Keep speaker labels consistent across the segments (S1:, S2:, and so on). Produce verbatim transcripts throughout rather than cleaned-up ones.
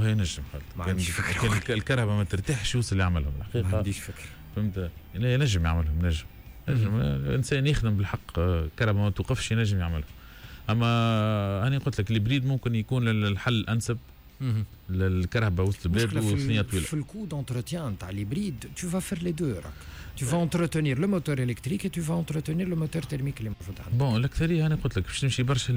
S1: والله ينجم.
S2: ما عنديش فكره.
S1: كان الكرهبه ما ترتاحش يوصل يعملهم الحقيقه.
S2: ما عنديش فكره.
S1: فهمت، ينجم يعملهم، نجم نجم الانسان يخدم بالحق، كرهبه ما توقفش ينجم يعملها. اما انا قلت لك l'hybride ممكن يكون الحل الانسب للكرهبه وسط البلاد وثنية طويله.
S2: في ال coût d'entretien تاع l'hybride، tu vas faire les deux، راك tu vas entretenir le moteur électrique et tu vas entretenir le moteur thermique اللي موجود عندك.
S1: bon، الاكثرية انا قلت لك باش تمشي برشا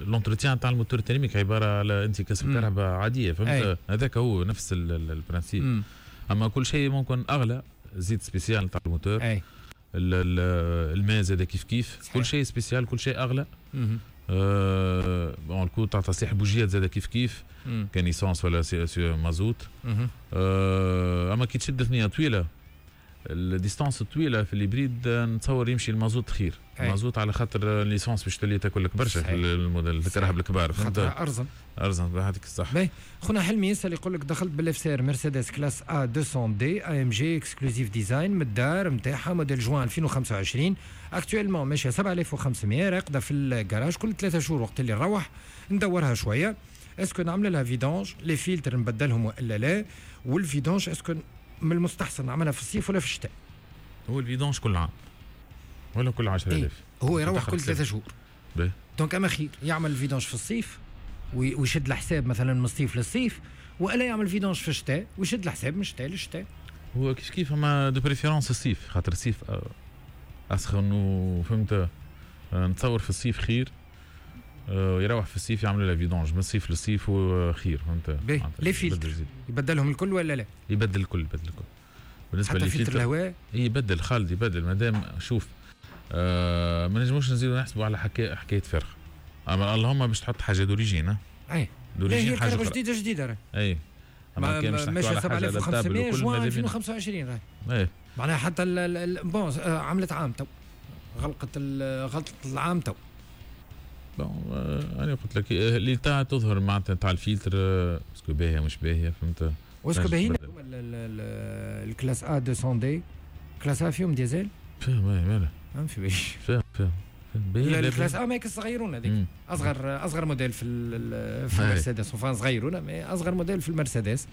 S1: l'entretien تاع ال moteur thermique، عبارة على انت كسب كرهبه عاديه، فهمت، هذاك هو نفس ال principe. اما كل شيء ممكن اغلى، زيت spécial تاع الموتور، اي الماء زاد كيف كيف صحيح. كل شيء spécial، كل شيء اغلى. آه bon، ال coût تاع تصليح البوجيات زاد كيف كيف، كان essence ولا مازوت. آه اما كي تشد ثنيه طويله، ال distance الطويلة في l'hybride، نتصور يمشي المازوت خير. المازوت على خاطر l'essence باش تولي تاكل لك برشا في الموديل الكراهب الكبار.
S2: فهمت، ارزن.
S1: ارزن، هذيك الصح.
S2: باهي، خونا حلمي يسال، يقول لك دخلت بال FCR مرسيدس classe A ميتين D AMG exclusive design من الدار نتاعها، موديل جوان ألفين وخمسة وعشرين، actuellement ماشية سبعة آلاف وخمسمية، راقده في الجراج. كل ثلاثة شهور وقت اللي نروح ندورها شويه. est-ce que نعمل لها vidange، les filtres نبدلهم والا لا؟ وال vidange est-ce que من المستحسن نعملها في الصيف ولا في الشتاء؟
S1: هو ال vidange كل عام ولا كل عشرة آلاف.
S2: إيه؟ هو يروح كل ثلاثة شهور، donc اما خير يعمل ال vidange في الصيف ويشد الحساب مثلا من الصيف للصيف، والا يعمل vidange في الشتاء ويشد الحساب من الشتاء للشتاء؟
S1: هو كيف كيف، اما de préférence الصيف، خاطر الصيف آه، اسخن وفهمت، آه، نتصور في الصيف خير، آه، يروح في الصيف يعمل لها vidange من الصيف للصيف وخير، فهمت.
S2: باهي، les filtres يبدلهم الكل ولا لا؟
S1: يبدل الكل، يبدل الكل.
S2: بالنسبة حتى فلتر الهواء؟
S1: يبدل خالد، يبدل. مادام شوف آه ما نجموش نزيدو نحسبوا على حكاية حكاية فرق، اما اللهم باش تحط حاجة d'origine.
S2: اي d'origine، هي حاجة جديدة جديدة
S1: راهي. اي.
S2: اما كان باش ماشي سبعة آلاف وخمسمية جوان ألفين وخمسة وعشرين راهي.
S1: اي.
S2: معناها حتى bon، آه، عملت عام تو، غلقت غلطت العام تو.
S1: bon، آه، انا قلت لك l'état تظهر معناتها تاع ال filtre، est-ce que باهيه مش باهيه، فهمت.
S2: و est-ce que باهيين ال classe A ميتين D؟ classe A فيهم ديزل؟
S1: فيهم، اي مالا.
S2: ما في باليش.
S1: فيهم فيهم.
S2: ال classe A ماك الصغيرون هذيك، اصغر اصغر موديل في في المرسيدس، enfin صغيرونه mais اصغر موديل في المرسيدس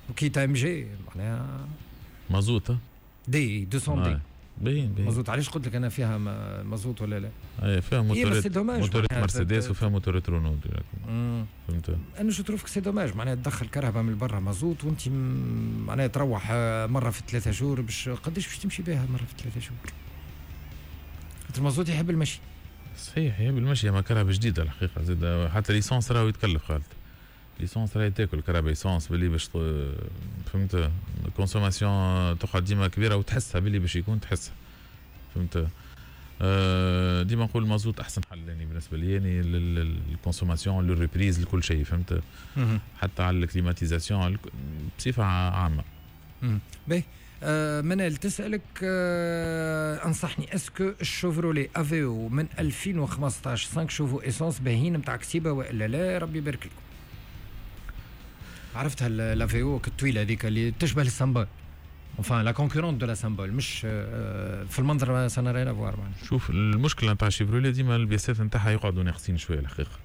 S2: وكي AMG معناها.
S1: مازوت.
S2: D ميتين D.
S1: باين باين.
S2: مازوت، علاش قلت لك انا فيها مازوت ولا لا؟
S1: اي، فيها موتورات موتورات مرسيدس وفيها موتورات رونو، فهمت.
S2: انا je trouve c'est dommage، معناها تدخل كرهبه من برا مازوت وانت معناها تروح مرة في ثلاثة شهور، باش قداش باش تمشي بها مرة في ثلاثة شهور؟ المازوت يحب المشي.
S1: صحيح يحب المشي، اما كرهبه جديدة الحقيقة زاد حتى l'essence راهو يتكلف خالد، l'essence راهي تاكل كرهبه essence باللي باش، فهمت، consommation تقعد ديما كبيرة وتحسها باللي باش يكون تحسها، فهمت. آه، ديما نقول المازوت احسن حل يعني بالنسبة لي، يعني لل consommation، لل reprise، لكل شيء، فهمت، حتى على ال climatisation بصفة عامه.
S2: باهي، آه منال تسألك آه انصحني، est-ce que الشوفرولي افيو من ألفين وخمسطاش cinq chevaux essence باهين نتاع كسيبه والا لا؟ ربي يبارك لكم. عرفتها l'Aveo الطويلة هذيك اللي تشبه ال Symbol، enfin la concurrente de la Symbol، مش آه، في المنظر ça n'a rien à voir.
S1: شوف، المشكلة نتاع شيفرولي ديما البياسات نتاعها يقعدوا ناقصين شوية الحقيقه.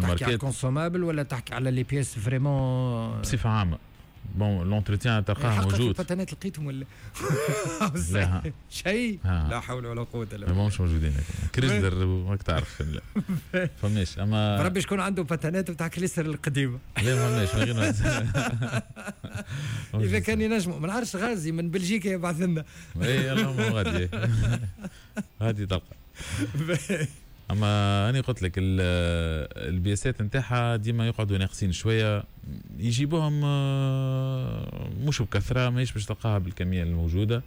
S2: تحكي على ال consommables ولا تحكي على les pièces vraiment؟
S1: بصفة عامه، bon، l'entretien تلقاه موجود.
S2: الباتانات لقيتهم ولا لا؟ شيء، لا حول ولا قوة الا
S1: بالله. مش موجودين، كريسلر ماك تعرف، لا فماش اما
S2: بربي شكون عنده باتانات بتاع كريسلر القديمه؟
S1: لا ما فماش من غير.
S2: اذا كان ينجموا، ما نعرفش، غازي من بلجيكا يبعث لنا.
S1: اي اللهم غادي غادي تلقى. اما انا قلت لك البياسات نتاعها ديما يقعدوا ناقصين شويه، يجيبوهم آه، مش بكثره، ماهيش باش تلقاها بالكمية الموجوده.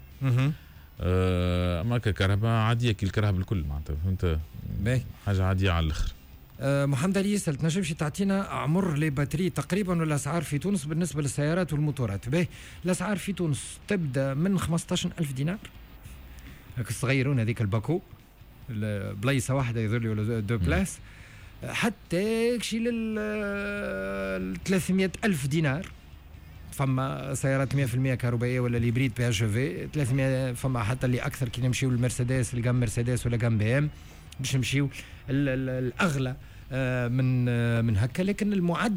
S1: آه، اما ككرهبه عادية كي الكرهبه الكل معناتها، فهمت، حاجة عادية على الاخر.
S2: أه محمد علي يسأل، تنجمش تعطينا عمر les batteries تقريبا والاسعار في تونس بالنسبة للسيارات والموتورات؟ باهي، الاسعار في تونس تبدا من خمسطاش ألف دينار، هاك الصغيرون هذيك الباكو بلايصه واحدة يظهر لي ولا deux places، حتى شي لل ثلاثمية ألف دينار. فما سيارات مية في المية كهربائية ولا l'hybride PHEV ثلاثمية، فما حتى اللي اكثر كي نمشيو للمرسيدس، ال gamme مرسيدس ولا gamme بي ام، باش نمشيو الاغلى آه، من آه، من هكا، لكن المعدل